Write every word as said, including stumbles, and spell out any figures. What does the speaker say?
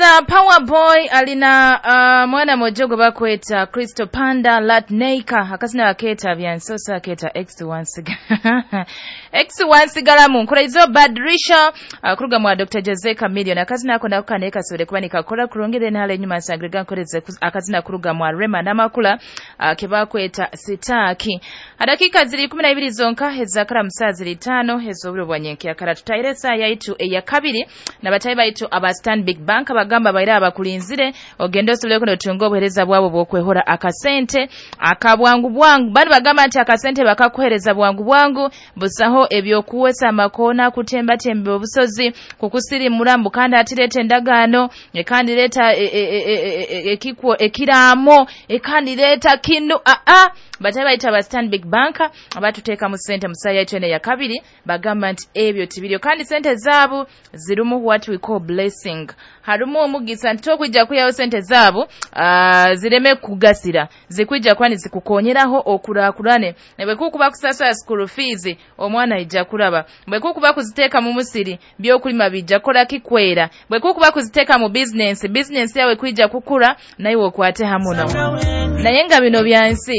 That's uh, Power Boy alina uh, mwana mojo gwe bakweta Crystal Panda Latneika, akazina baketa byansosa aketa X wansiga X wansigalamu nkuraizo Badrisha uh, kuruga mwa Doctor Jose Chameleon, akazina ako nako kane kasore kuba nikakora kurongere nale nyuma nsangirega nkoreze akazina kuruga mwa Rema Namakula uh, kebakweta Sitaki. Adakika ziri kumi na ibiri zonka hezakara musazi litano hezoburo bwanyenke akara tutayire saa yaitu eya kabiri na batayi baitu aba Stanbic Bank abagamba baira abakulinzire ogende osobole kuno tunga obuhereza bwabo bwokwehora akasente akabwangu bwangu. Bali bagamba nti akasente bakakuhereza bwangu bwangu busaho ebyokuwesa amakona kutemba tembe obusozi kukusirimura mbu kandi atireta endagaano kandi leta ekikwo ekiraamo kandi leta kinu a a batayi bayita aba Stanbic Bank abatuteeka mu ssente mu ssaawa yaitu eno eya kabiri bagamba nti ebyo tibiriyo kandi ssente zaabu zirimu what we call blessing, harimu omugisa nti tokwijja kuyawo ssente zaabu uh, zireme kugasira zikwijja kuba nizikukonyeraho okulaakulane ne bwe kukuba kusasula school fees omwana ijja kulaba, bwe kukuba kuziteeka mu musiri byokulima bijja kukola kikwera, bwe kukuba kuziteeka mu business business yawe kwijja kukula naye okwate hamuno. Naye nga bino bya nsi.